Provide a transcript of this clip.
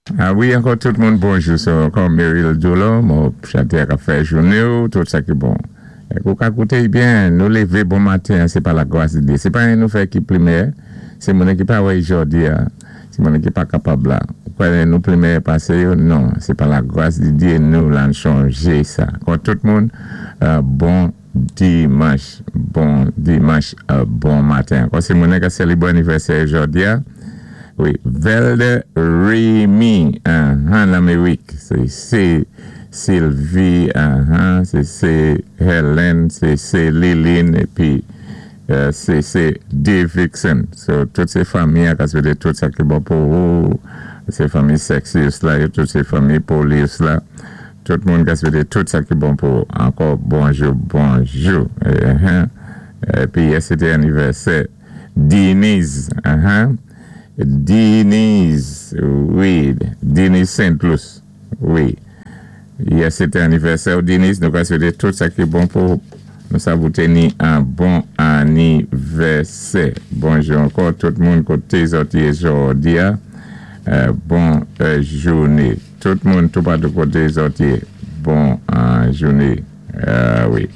A wi, ankò tout moun bonjou. So ankò Meryl Dulon, mo chanté ka fè jouné, tout sa ki bon. É ou ka kouté byen, nou lévé bon maten, sé pa la gwas di Dye. Sé pa anyen nou fè ki pli mèyè, sé moun ki pa wè jòdi a, sé moun ki pa kapab la. Kwè nou pli mèyè pasé yo? Non, sé pa la gwas di Dye nou la chonjé sa. Ankò tout moun, bon dimanch, bon dimanch, bon maten. Ankò sé moun ki sélébwé anivèsè jòdi a. Wi, Velde Remy, Lamérik, sé sé Sylvie, sé sé Helen, sé sé Liline, épi sé sé Davidson. So, tout sé fanmi, ka swété tout sa ki bon pou ou. Sé fanmi Sexius la, tout sé fanmi Polius la. Tout moun ka swété tout sa ki bon pou ou. Ankò bonjou, bonjou. Épi yè sé té anivèsè Denise. Denise, wi, Denise Saint-Louis, wi. Yè sé té anivèsè Denise, nou ka swété tout sa ki bon pou ou. Nou sa vou téni an bon anivèsè. Bonjou ankò tout moun koté zòt yé jòdi a. Bon jouné. Tout moun toupatou koté zòt yé. Bon jouné. Wi.